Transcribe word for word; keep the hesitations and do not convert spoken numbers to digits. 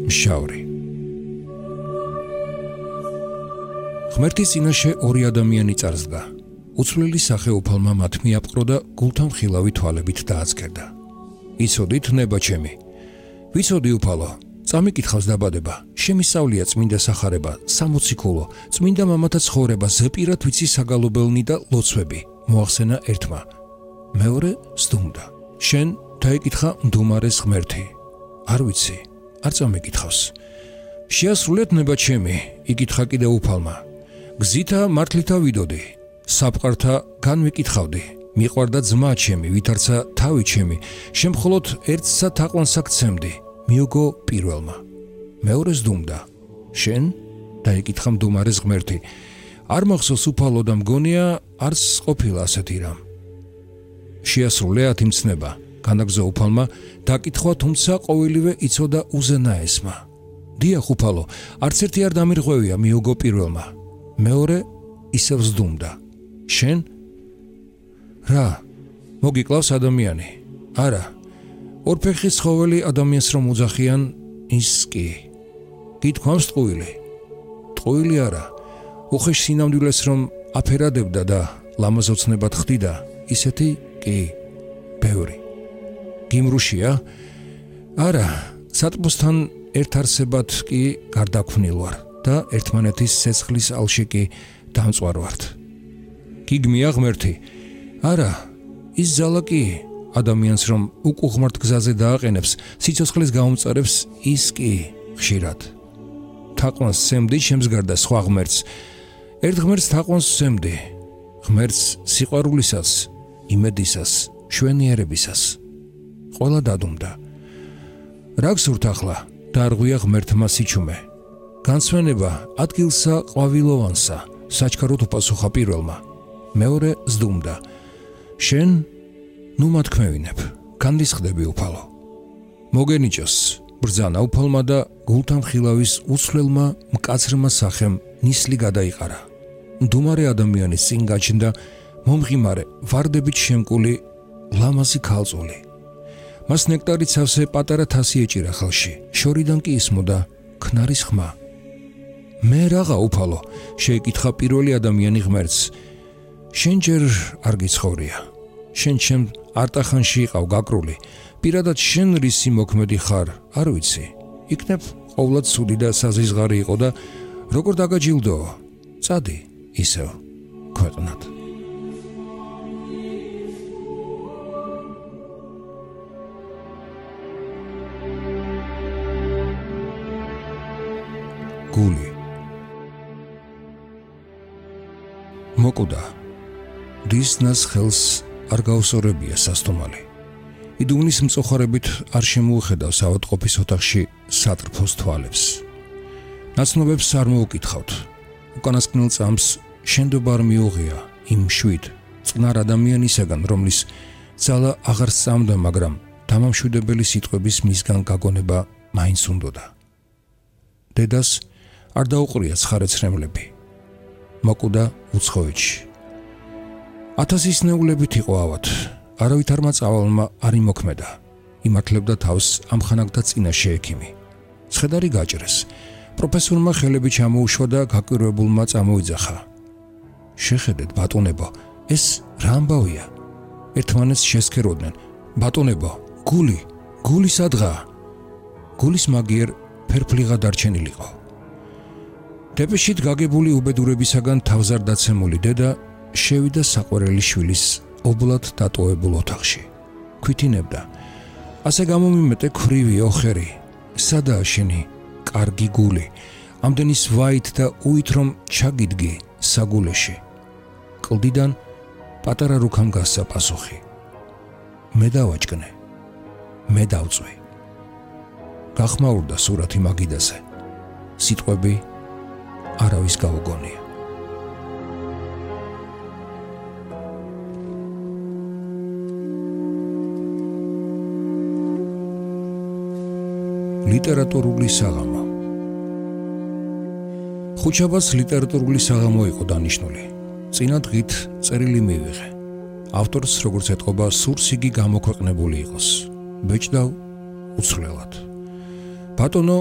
მშავრი. ღმერთის წინაშე ორი ადამიანი წარსდგა. უცვლელი სახეუფალმა მათ მიაპყრო და გულთან ხილავი თვალებით დააცქერდა. იცოდით, ნება ჩემი. ვიცოდი უფალო, წამიკითხავს დაბადება, შემისწავლია წმინდა სახარება, სამოციქულო, წმინდა მამათა ცხოვრება, ზეპირად ვიცი საგალობელნი და ლოცვები, მოახსენა ერთმა. მეორე სდუმდა. შენ დაიკითხა მდუმარეს ღმერთი. არ ვიცი, არ წამიკითხავს. შეასრულეთ ნება ჩემი, იკითხა კიდევ უფალმა. გზითა მართლითა ვიდოდი, საფყართა განვიკითხავდი. მიყვარდა ძმა ჩემი, ვითარცა თავი ჩემი, შემხოლოდ ერთსა თაყვანსა გცემდი. მიოგო პირველმა. მეორე სდუმდა. შენ დაიკითხა მდუმარეს ღმერთი. არ მახსოვს უფალო და მგონია არც ყოფილა ასეთი რამ. შეასრულეათ იმ ცნება, განაგზა უფალმა, დაკითხვა თუმცა ყოველივე იცოდა უზენაესმა. დიახ უფალო, არც ერთი არ დამირღვევია, მიოგო პირველმა. მეორე ისევ სდუმდა. შენ? რა? მოგიკლავს ადამიანი? არა. ორფეხის ცხოველი ადამიანს რომ უძახიან, ის კი. გითქვამს ტყუილი. ტყუილი არა. უხეშ სინამდვილეს რომ აფერადებდა და ლამაზოცნებად ხდიდა, ისეთი კი. ბევრი. გიმრუშია? არა, სატყბოსთან ერთ არსებად კი გარდაქმნილ ვარ და ერთმანეთის ცეცხლის ალში კი დამწვარ ვართ. გიგმია ღმერთი? არა, ის ძალა კი ადამიანს რომ უკუღმართ გზაზე დააყენებს, სიცოცხლის გაუმწარებს, ის კი ხშირად. თაყვანს სცემდი ჩემს გარდა სხვა ღმერთს. ერთ ღმერთს თაყვანს სცემდი, ღმერთს სიყვარულისას, იმედისას, შვენიერებისას. ყველა დადუმდა. რა გსურთ ახლა? დაარღვია ღმერთმა სიჩუმე. განსვენება ადგილსა ყვავილოვანსა, საჩქაროდ უპასუხა პირველმა. მეორე სდუმდა. შენ ნუ მათქმევინებ, განდისხდები უფალო. მოგენიჭოს, ბრძანა უფალმა და გულთან ხილავის უცვლელმა მკაცრმა სახემ ნისლი გადაიყარა. მდუმარე ადამიანის წინ გაჩნდა მომღიმარე, ვარდებით შემკული ლამაზი ქალწული. მას ნექტარით სავსე პატარა თასი ეჭირა ხელში, შორიდან კი ისმოდა ქნარის ხმა. მე რაღა უფალო, შეიკითხა პირველი ადამიანი ღმერთს. შენ ჯერ არ გიცხოვრია. შენ ჩემ არტახანში იყავ გაკრული. პირადად შენ რისი მოქმედი ხარ, არ ვიცი. იქნებ ყოვლად ცუდი და საზიზღარი იყო და როგორ დაგაჯილდო? წადი ისევ ქვეყნად. გული მოკუდა დისნას ხელს არ გაუსორებია სასტომალი. იდუნის მწოხარებით არ შემოუხედავს ავადმყოფის ოთახში სატრფოს თვალებს. ნაცნობებს არ მოუკითხავთ. უკანასკნელ წამს შენდობა არ მიუღია იმ შვიდ წყნარ ადამიანისაგან, რომლის ძალა აღარ სწამდა, მაგრამ დამამშვიდებელი სიტყვების მისგან გაგონება მაინც უნდოდა. დედას არ დაუყრია ცხარეცრემლები. მოკუდა უცხოეთში. ათასის ნეულებით იყო ავად. არავითარმა წავალმა არ იმოქმედა. იმართლებდა თავს ამხანაგდა წინაშე ექიმი. ცხედარი გაჭრეს. პროფესორმა ხელები ჩამოუშვა და გაკვირვებულმა წამოიძახა. შეხედეთ ბატონებო, ეს რა ამბავია? ერთმანეთს შესქეროდნენ. ბატონებო, გული, გული სადღაა? გულის მაგიერ ფერფლიღა დარჩენილიყო. დეპეშით გაგებული უბედურებისაგან თავზარ დაცემული დედა შევიდა საყვარელი შვილის ობლად დატოვებულ ოთახში. ქვითინებდა. ასე გამომიმეტე ქვრივი ოხერი. სადაა შენი კარგი გული? ამდენის ვაით და უით რომ ჩაგიდგი საგულეში. კლდიდან პატარა რუქამ გასცა პასუხი. მე დავაჭკნე. მე დავწვი. გახმაურდა სურათი მაგიდაზე. სიტყვები არავის გაუგონია. ლიტერატურული საღამო. ხუჩაბას ლიტერატურული საღამო იყო დანიშნული. წინა დღით წერილი მივიღე. ავტორს როგორც ეთყობა სურს იგი გამოქვეყნებული იყოს. ბეჭდავ უცვლელად. ბატონო